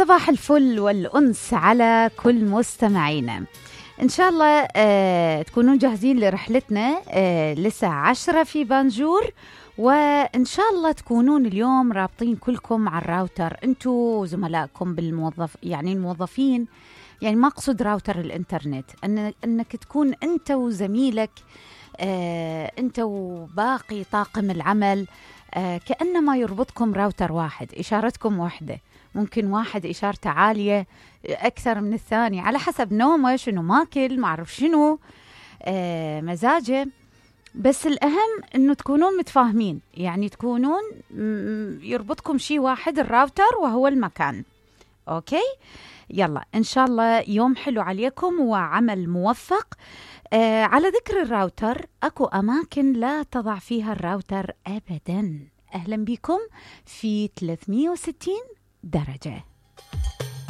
صباح الفل والأنس على كل مستمعينا. إن شاء الله تكونون جاهزين لرحلتنا لساعة 10 في بانجور، وإن شاء الله تكونون اليوم رابطين كلكم على الراوتر، أنتوا وزملائكم الموظفين. يعني ما أقصد راوتر الإنترنت، أنك تكون أنت وزميلك، أنت وباقي طاقم العمل، كأنما يربطكم راوتر واحد، إشارتكم واحدة. ممكن واحد إشارته عالية أكثر من الثاني على حسب نومه، شنو ماكل، معرف شنو مزاجه. بس الأهم أنه تكونون متفاهمين، يعني تكونون يربطكم شيء واحد، الراوتر وهو المكان. أوكي، يلا إن شاء الله يوم حلو عليكم وعمل موفق. على ذكر الراوتر، أكو أماكن لا تضع فيها الراوتر أبداً. أهلا بكم في 360 درجة.